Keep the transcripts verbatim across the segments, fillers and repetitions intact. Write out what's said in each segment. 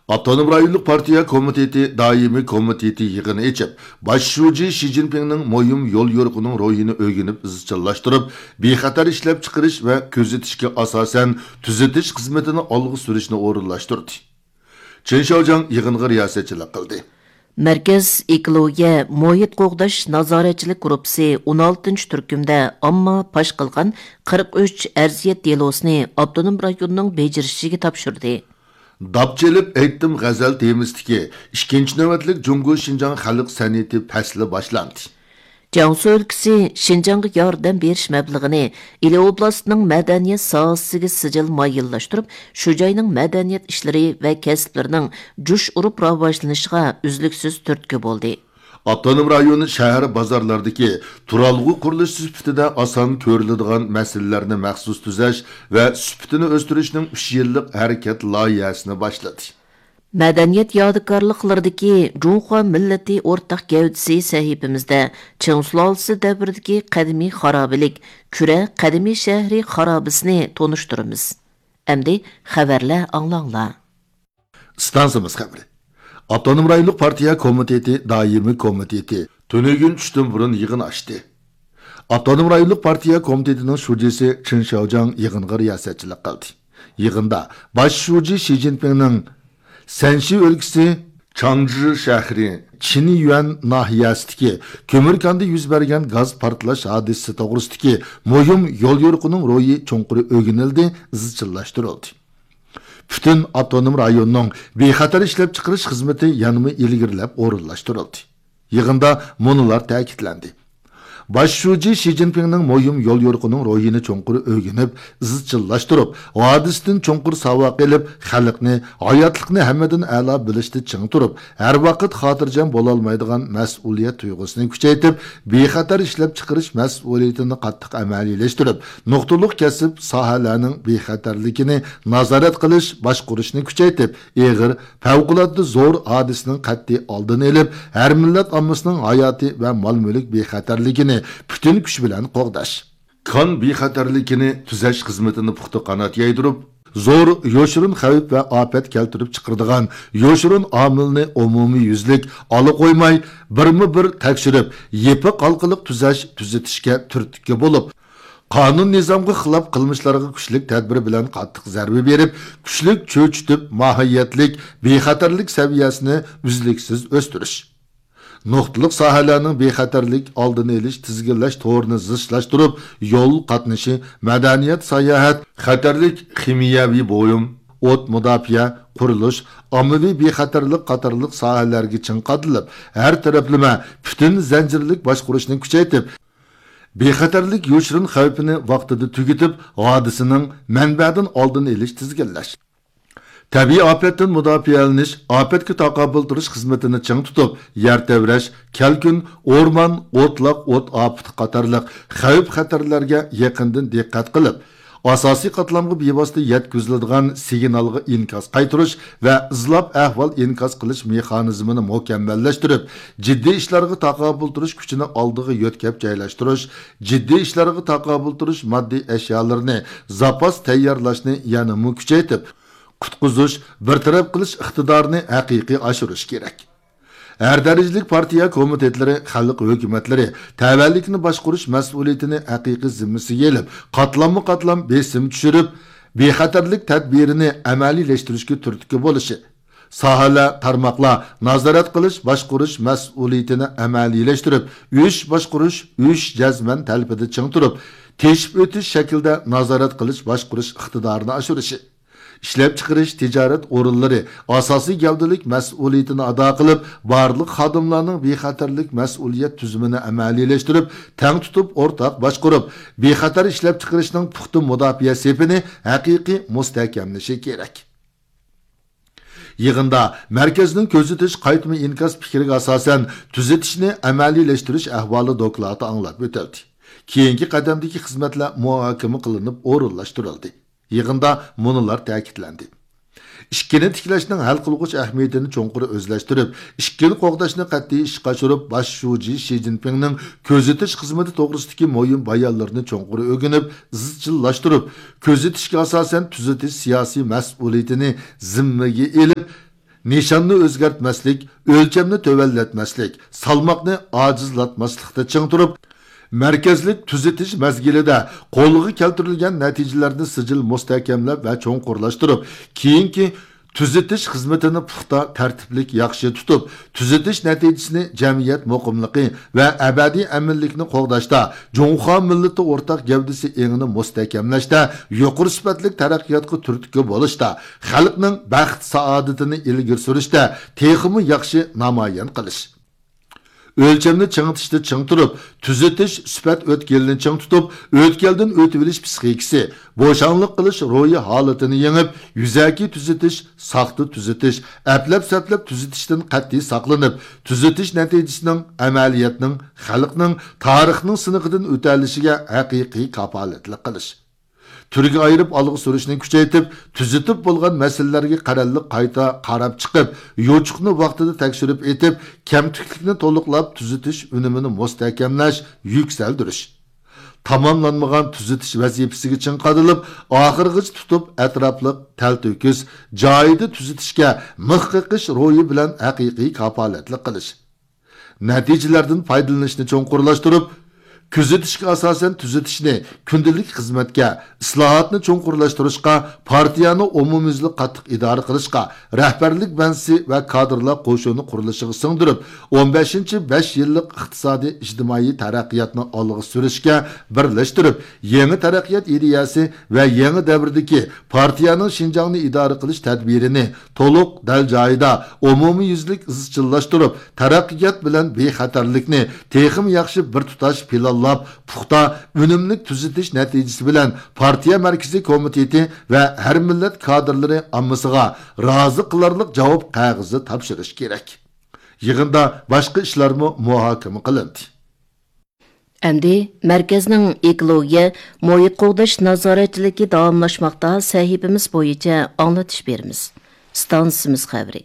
ئاپتونوم رايونلۇق پارتىيە كومىتېتى دائىمىي كومىتېتى يىغىنى ئېچىپ، باش شۇجى شى جىنپىڭنىڭ مۇھىم يول يورۇقىنىڭ روھىنى ئۆگىنىپ ئىزچىللاشتۇرۇپ، بىخەتەر ئىشلەپچىقىرىش ۋە كۆزىتىشكە ئاساسەن تۈزىتىش خىزمىتىنى ئالغا سۈرۈشنى ئورۇنلاشتۇردى. چېن شياۋجياڭ يىغىنغا رىياسەتچىلىك قىلدى. مەركەز ئېكولوگىيە، مۇھىت قوغداش نازارەتچىلىك گۇرۇپپىسى ئون ئالتىنچى تۈركۈمدە ئامما پاش قىلغان قىرىق ئۈچ ئەرزىيەت دېلوسىنى ئاپتونوم رايوننىڭ بېجىرىشىچىگە تاپشۇردى. داپ چېلىپ ئېيتتىم غەزەل تېمىسىدىكى ئىككىنچى نۆۋەتلىك جۇڭگو شىنجاڭ خەلق سەنئىتى پەسلى باشلاندى. جياڭسۇ ئۆلكىسى شىنجاڭغا ياردەم بېرىش مەبلىغىنى ئىلى ئوبلاستىنىڭ مەدەنىيەت ساھەسىگە سىجىل مايىللاشتۇرۇپ، شۇ جاينىڭ مەدەنىيەت ئىشلىرى ۋە كەسىپلىرىنىڭ جۇش ئۇرۇپ راۋاجلىنىشىغا ئۈزلۈكسىز تۈرتكە بولدى. ئاپتونوم رايون شەھەر بازارلاردىكى تۇرالغۇ قۇرۇلۇشى سۈپىتىدە ئاسان كۆرۈلىدىغان مەسىلىلەرنى مەخسۇس تۈزەش ۋە سۈپىتىنى ئۆستۈرۈشنىڭ ئۈچ يىللىق ھەرىكەت لايىھەسىنى باشلىدى. مەدەنىيەت يادىكارلىقلىرىدىكى جۇڭخۇا مىللىتى ئورتاق گەۋدىسى سەھىپىمىزدە چىڭ سۇلالىسى دەۋرىدىكى قەدىمىي خارابىلىك، كۈرە قەدىمىي شەھىرى خارابىسىنى تونۇشتۇرىمىز. ئەمدى خەۋەرلەر ئاڭلاڭلار. ئىستانسىمىز خەۋىرى. ئاپتونوم رايونلۇق پارتىيە كومىتېتى دائىمىي كومىتېتى تۈنۈگۈن چۈشتىن بۇرۇن يىغىن ئاچتى. ئاپتونوم رايونلۇق پارتىيە كومىتېتىنىڭ شۇجىسى چېن شياۋجياڭ يىغىنغا رىياسەتچىلىك قىلدى. يىغىندا باش شۇجى شى جىنپىڭنىڭ سەنشى ئۆلكىسى چاڭجى شەھىرى چىنيۈەن ناھىيەسىدىكى كۆمۈر كاندا يۈز بەرگەن گاز پارتلاش ھادىسىسى توغرىسىدىكى مۇھىم يول يورۇقىنىڭ روھى چوڭقۇر ئۆگىنىلدى، ئىزچىللاشتۇرۇلدى. پۈتۈن ئاپتونوم رايوننىڭ بىخەتەر ئىشلەپچىقىرىش خىزمىتى يەنىمۇ ئىلگىرىلەپ ئورۇنلاشتۇرۇلدى. يىغىندا مۇنۇلار تەكىتلەندى. باش شۇجى شى جىنپىڭنىڭ مۇھىم يول يورۇقىنىڭ روھىنى چوڭقۇر ئۆگىنىپ، ئىزچىللاشتۇرۇپ، ھادىسىدىن چوڭقۇر ساۋاق ئېلىپ، خەلقنى، ھاياتلىقنى ھەممىدىن ئەلا بىلىشتە چىڭ تۇرۇپ، ھەر ۋاقىت خاتىرجەم بولالمايدىغان مەسئۇلىيەت تۇيغۇسىنى كۈچەيتىپ، بىخەتەر ئىشلەپچىقىرىش مەسئۇلىيىتىنى قاتتىق ئەمەلىيلەشتۈرۈپ، نۇقتىلىق كەسىپ ساھەلەرنىڭ بىخەتەرلىكىنى نازارەت قىلىش، باشقۇرۇشنى كۈچەيتىپ، ئېغىر، پەۋقۇلئاددە زور ھادىسىنىڭ قەتئىي ئالدىنى ئېلىپ، ھەر مىللەت ئاممىسىنىڭ ھاياتى ۋە مال-مۈلۈك بىخەتەرلىكىنى پۈتۈن كۈچ بىلەن قوغداش. كان بىخەتەرلىكىنى تۈزەش خىزمىتىنى پۇختا قانات يايدۇرۇپ، زور يوشۇرۇن خەۋپ ۋە ئاپەت كەلتۈرۈپ چىقىرىدىغان يوشۇرۇن ئامىلنى ئومۇميۈزلۈك ئالا قويماي، بىرمۇ بىر تەكشۈرۈپ، يېپىق ھالقىلىق تۈزەش، تۈزىتىشكە تۈرتكە بولۇپ، قانۇن نىزامغا خىلاپ قىلمىشلارغا كۈچلۈك تەدبىر بىلەن قاتتىق زەربە بېرىپ، كۈچلۈك چۆچۈتۈپ، ماھىيەتلىك بىخەتەرلىك سەۋىيەسىنى ئۈزلۈكسىز ئۆستۈرۈش. نۇقتىلىق ساھەلەرنىڭ بىخەتەرلىك ئالدىنى ئېلىش، تىزگىنلەش تورىنى زىچلاشتۇرۇپ، يول قاتنىشى، مەدەنىيەت، ساياھەت، خەتەرلىك خىمىيەۋى بۇيۇم، ئوت مۇداپىئە، قۇرۇلۇش، ئاممىۋى بىخەتەرلىك قاتارلىق ساھەلەرگە چىڭ قادىلىپ، ھەر تەرەپلىمە پۈتۈن زەنجىرلىك باشقۇرۇشنى كۈچەيتىپ، بىخەتەرلىك يوشۇرۇن خەۋپىنى ۋاقتىدا تۈگىتىپ، ھادىسىنىڭ مەنبەدىن ئالدىنى ئېلىش، تىزگىنلەش. تەبىئىي ئاپەتتىن مۇداپىئەلىنىش، ئاپەتكە تاقابىل تۇرۇش خىزمىتىنى چىڭ تۇتۇپ، يەر تەۋرەش، كەلكۈن، ئورمان، ئوتلاق ئوت ئاپىتى قاتارلىق خەۋپ-خەتەرلەرگە يېقىندىن دىققەت قىلىپ، ئاساسىي قاتلامغا بىۋاسىتە يەتكۈزۈلىدىغان سىگنالغا ئىنكاس قايتۇرۇش ۋە ئىزلاپ ئەھۋال ئىنكاس قىلىش مېخانىزمىنى مۇكەممەللەشتۈرۈپ، جىددىي ئىشلارغا تاقابىل تۇرۇش كۈچىنى ئالدىغا يۆتكەپ جايلاشتۇرۇش، جىددىي ئىشلارغا تاقابىل تۇرۇش ماددىي ئەشيالىرىنى زاپاس تەييارلاشنى يەنىمۇ كۈچەيتىپ، قۇتقۇزۇش، بىر تەرەپ قىلىش ئىقتىدارىنى ھەقىقىي ئاشۇرۇش كېرەك. ھەر دەرىجىلىك پارتىيە كومىتېتلىرى، خەلق ھۆكۈمەتلىرى تەۋەلىكنى باشقۇرۇش مەسئۇلىيىتىنى ھەقىقىي زىممىسىگە ئېلىپ، قاتلاممۇ قاتلام بېسىم چۈشۈرۈپ، بىخەتەرلىك تەدبىرىنى ئەمەلىيلەشتۈرۈشكە تۈرتكە بولۇشى، ساھەلەر، تارماقلار نازارەت قىلىش، باشقۇرۇش مەسئۇلىيىتىنى ئەمەلىيلەشتۈرۈپ، ئۈچ باشقۇرۇش، ئۈچ جەزمەن تەلىپىدە چىڭ تۇرۇپ، تېشىپ ئۆتۈش شەكلىدە نازارەت قىلىش، باشقۇرۇش ئىقتىدارىنى ئاشۇرۇشى. ئىشلەپچىقىرىش، تىجارەت ئورۇنلىرى ئاساسىي گەۋدىلىك مەسئۇلىيىتىنى ئادا قىلىپ، بارلىق خادىملارنىڭ بىخەتەرلىك مەسئۇلىيەت تۈزۈمىنى ئەمەلىيلەشتۈرۈپ، تەڭ تۇتۇپ، ئورتاق باشقۇرۇپ، بىخەتەر ئىشلەپچىقىرىشنىڭ پۇختا مۇداپىئە سېپىنى ھەقىقىي مۇستەھكەملىشى كېرەك. يىغىندا مەركەزنىڭ كۆزىتىش قايتما ئىنكاس پىكرىگە ئاساسەن، تۈزىتىشنى ئەمەلىيلەشتۈرۈش ئەھۋالى دوكلاتى ئاڭلاپ ئۆتۈلدى. كېيىنكى قەدەمدىكى خىزمەتلەر مۇھاكىمە قىلىنىپ ئورۇنلاشتۇرۇلدى. يىغىندا مۇنۇلار تەكىتلەندى. ئىككىنى تىكلەشنىڭ ھەل قىلغۇچ ئەھمىيىتىنى چوڭقۇر ئۆزلەشتۈرۈپ، ئىككىنى قوغداشنى قەتئىي ئىشقا ئاشۇرۇپ، باش شۇجى شى جىنپىڭنىڭ كۆزىتىش خىزمىتى توغرىسىدىكى مۇھىم بايانلىرىنى چوڭقۇر ئۆگىنىپ، ئىزچىللاشتۇرۇپ، كۆزىتىشكە ئاساسەن تۈزىتىش سىياسىي مەسئۇلىيىتىنى زىممىگە ئېلىپ، نىشاننى ئۆزگەرتمەسلىك، ئۆلچەمنى تۆۋەنلەتمەسلىك، سالماقنى ئاجىزلاتماسلىقتا چىڭ تۇرۇپ، مەركەزلىك تۈزىتىش مەزگىلىدە قولغا كەلتۈرۈلگەن نەتىجىلەرنى سىجىل مۇستەھكەملەپ ۋە چوڭقۇرلاشتۇرۇپ، كېيىنكى تۈزىتىش خىزمىتىنى پۇختا، تەرتىپلىك، ياخشى تۇتۇپ، تۈزىتىش نەتىجىسىنى جەمئىيەت مۇقىملىقى ۋە ئەبەدىي ئەمىنلىكنى قوغداشتا، جۇڭخۇا مىللىتى ئورتاق گەۋدىسى ئېڭىنى مۇستەھكەملەشتە، يۇقىرى سۈپەتلىك تەرەققىياتقا تۈرتكە بولۇشتا، خەلقنىڭ بەخت-سائادىتىنى ئىلگىرى سۈرۈشتە تېخىمۇ ياخشى نامايان قىلىش. ئۆلچەمنى چىڭىتىشتا چىڭ تۇرۇپ، تۈزىتىش سۈپەت ئۆتكىلىنى چىڭ تۇتۇپ، ئۆتكەلدىن ئۆتۈۋېلىش پىسخىكىسى، بوشاڭلىق قىلىش روھىي ھالىتىنى يېڭىپ، يۈزەكى تۈزىتىش، ساختا تۈزىتىش، ئەپلەپ-سەپلەپ تۈزىتىشتىن قەتئىي ساقلىنىپ، تۈزىتىش نەتىجىسىنىڭ، ئەمەلىيەتنىڭ، خەلقنىڭ، تارىخنىڭ سىنىقىدىن ئۆتەلىشىگە ھەقىقىي كاپالەتلىك قىلىش. تۈرگە ئايرىپ ئالغا سۈرۈشنى كۈچەيتىپ، تۈزىتىپ بولغان مەسىلىلەرگە قەرەللىك قايتا قاراپ چىقىپ، يوچۇقنى ۋاقتىدا تەكشۈرۈپ ئېتىپ، كەمتۈكلۈكنى تولۇقلاپ، تۈزىتىش ئۈنۈمىنى مۇستەھكەملەش، يۈكسەلدۈرۈش. تاماملانمىغان تۈزىتىش ۋەزىپىسىگە چىڭ قادىلىپ، ئاخىرغىچە تۇتۇپ، ئەتراپلىق، تەلتۆكۈس، جايىدا تۈزىتىشكە مىخ قېقىش روھى بىلەن ھەقىقىي كاپالەتلىك قىلىش. نەتىجىلەردىن پايدىلىنىشنى چوڭقۇرلاشتۇرۇپ، كۆزىتىشكە ئاساسەن تۈزىتىشنى كۈندىلىك خىزمەتكە، ئىسلاھاتنى چوڭقۇرلاشتۇرۇشقا، پارتىيەنى ئومۇميۈزلۈك قاتتىق ئىدارە قىلىشقا، رەھبەرلىك بەنزىسى ۋە كادىرلار قوشۇنى قۇرۇلۇشىغا سىڭدۈرۈپ، ئون بەشىنچى بەش يىللىق ئىقتىسادىي ئىجتىمائىي تەرەققىياتنى ئالغا سۈرۈشكە بىرلەشتۈرۈپ، يېڭى تەرەققىيات ئىدىيەسى ۋە يېڭى دەۋردىكى پارتىيەنىڭ شىنجاڭنى ئىدارە قىلىش تەدبىرىنى تولۇق، دەل جايىدا، ئومۇميۈزلۈك ئىزچىللاشتۇرۇپ، تەرەققىيات بىلەن بىخەتەرلىكنى تېخىمۇ ياخشى بىر تۇتاش پىلانلاپ، پۇختا، ئۈنۈملۈك تۈزىتىش نەتىجىسى بىلەن پارتىيە مەركىزىي كومىتېتى ۋە ھەر مىللەت كادىرلىرى ئاممىسىغا رازى قىلارلىق جاۋاب قەغىزى تاپشۇرۇش كېرەك. يىغىندا باشقا ئىشلارمۇ مۇھاكىمە قىلىندى. ئەمدى مەركەزنىڭ ئېكولوگىيە، مۇھىت قوغداش نازارەتچىلىكى داۋاملاشماقتا سەھىپىمىز بويىچە ئاڭلىتىش بېرىمىز. ئىستانسىمىز خەۋىرى.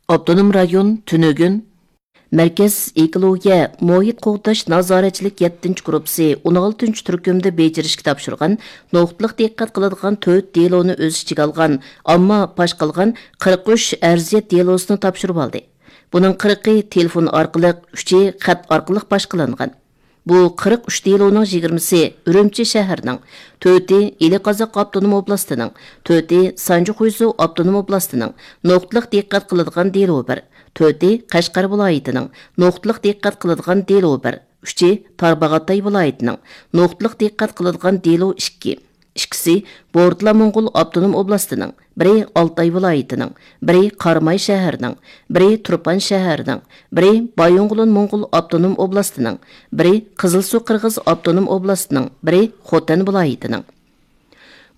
ئاپتونوم رايون، تۈنۈگۈن. مەركەز ئېكولوگىيە، مۇھىت قوغداش نازارەتچىلىك يەتتىنچى گۇرۇپپىسى ئون ئالتىنچى تۈركۈمدە بېجىرىشكە تاپشۇرغان، نۇقتىلىق دىققەت قىلىدىغان تۆت دېلونى ئۆز ئىچىگە ئالغان، ئامما پاش قىلغان قىرىق ئۈچ ئەرزىيەت دېلوسىنى تاپشۇرۇۋالدى. بۇنىڭ قىرىقى تېلېفون ئارقىلىق، ئۈچى خەت ئارقىلىق باشقىلانغان. بۇ قىرىق ئۈچ دېلونىڭ يىگىرمىسى ئۈرۈمچى شەھىرىنىڭ، تۆتى ئىلى قازاق ئاپتونوم ئوبلاستىنىڭ، تۆتى سانجى خۇيزۇ ئاپتونوم ئوبلاستىنىڭ، نۇقتىلىق دىققەت قىلىدىغان دېلو بىر، تۆتى قەشقەر ۋىلايىتىنىڭ، نۇقتىلىق دىققەت قىلىدىغان دېلو بىر، ئۈچى تارباغاتاي ۋىلايىتىنىڭ، نۇقتىلىق دىققەت قىلىدىغان دېلو ئىككى، ئىككىسى بورتالا موڭغۇل ئاپتونوم ئوبلاستىنىڭ، بىرى ئالتاي ۋىلايىتىنىڭ، بىرى قاراماي شەھىرىنىڭ، بىرى تۇرپان شەھىرىنىڭ، بىرى بايىنغولىن موڭغۇل ئاپتونوم ئوبلاستىنىڭ، بىرى قىزىلسۇ قىرغىز ئاپتونوم ئوبلاستىنىڭ، بىرى خوتەن ۋىلايىتىنىڭ.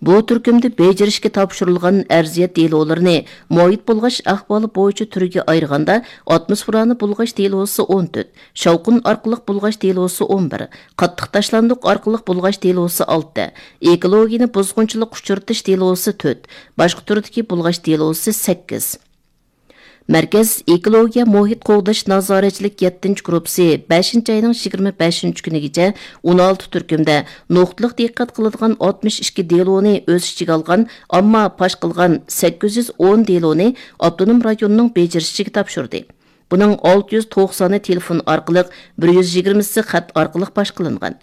بۇ تۈركۈمدە بېجىرىشكە تاپشۇرۇلغان ئەرزىيەت دېلولىرىنى مۇھىت بۇلغاش ئەھۋالى بويىچە تۈرگە ئايرىغاندا، ئاتموسفېرانى بۇلغاش دېلوسى ئون تۆت، شاۋقۇن ئارقىلىق بۇلغاش دېلوسى ئون بىر، قاتتىق تاشلاندۇق ئارقىلىق بۇلغاش دېلوسى ئالتە، ئېكولوگىيىنى بۇزغۇنچىلىققا ئۇچرىتىش دېلوسى تۆت، باشقا تۈردىكى بۇلغاش دېلوسى سەككىز. مەركەز ئېكولوگىيە مۇھىت قوغداش نازارەتچىلىك يەتتىنچى گۇرۇپپىسى بەشىنچى ئاينىڭ يىگىرمە بەشىنچى كۈنىگىچە ئون ئالتە تۈركۈمدە نۇقتىلىق دىققەت قىلىدىغان ئاتمىش ئىككى دېلونى ئۆز ئىچىگە ئالغان، ئامما پاش قىلغان سەككىز يۈز ئون دېلونى ئاپتونوم رايوننىڭ بېجىرىشىگە تاپشۇردى. بۇنىڭ ئالتە يۈز توقسانى تېلېفون ئارقىلىق، بىر يۈز يىگىرمىسى خەت ئارقىلىق پاش قىلىنغان.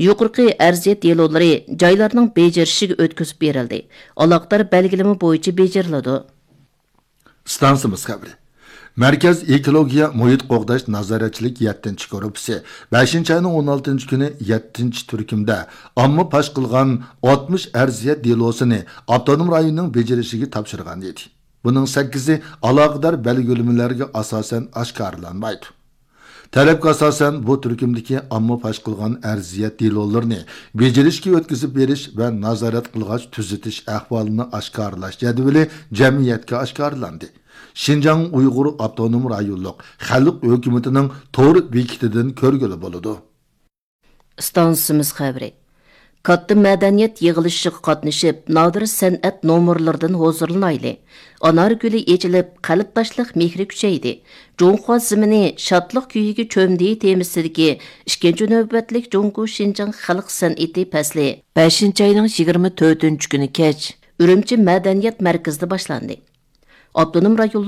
يۇقىرىقى ئەرزىيەت دېلولىرى جايلارنىڭ بېجىرىشىگە ئۆتكۈزۈپ بېرىلدى. ئالاقىدار بەلگىلىمە بويىچە بېجىرىلىدۇ. ئىستانسىمىز خەۋىرى. مەركەز ئېكولوگىيە مۇھىت قوغداش نازارەتچىلىك يەتتىنچى گۇرۇپپىسى بەشىنچى ئاينىڭ ئون ئالتىنچى كۈنى يەتتىنچى تۈركۈمدە ئامما پاش قىلغان ئاتمىش ئەرزىيەت دېلوسىنى ئاپتونوم رايوننىڭ بېجىرىشىگە تاپشۇرغان ئىدى. بۇنىڭ سەككىزى ئالاقىدار بەلگىلىمىلەرگە ئاساسەن ئاشكارىلانمايدۇ. تەلەپكە ئاساسەن، بۇ تۈركۈمدىكى ئامما پاش قىلغان ئەرزىيەت دېلولىرىنى بېجىرىشكە ئۆتكۈزۈپ بېرىش ۋە نازارەت قىلغاچ تۈزىتىش ئەھۋالىنى ئاشكارىلاش جەدۋىلى جەمئىيەتكە ئاشكارىلاندى. شىنجاڭ ئۇيغۇر ئاپتونوم رايونلۇق خەلق ھۆكۈمىتىنىڭ تور بېكىتىدىن كۆرگىلى بولىدۇ. ئىستانسىمىز خەۋىرى. كاتتا مەدەنىيەت يىغىلىشىغا قاتنىشىپ، نادىر سەنئەت نومۇرلىرىدىن ھۇزۇرلىنايلى. ئانار گۈلى ئېچىلىپ، قەلبداشلىق مېھرى كۈچەيدى. جۇڭخۇا زېمىنى شادلىق كۈيىگە چۆمدى تېمىسىدىكى ئىككىنچى نۆۋەتلىك جۇڭگو شىنجاڭ خەلق سەنئىتى پەسلى بەشىنچى ئاينىڭ يىگىرمە تۆتىنچى كۈنى كەچ ئۈرۈمچى مەدەنىيەت مەركىزىدە باشلاندى. ئاپتونوم رايونلۇق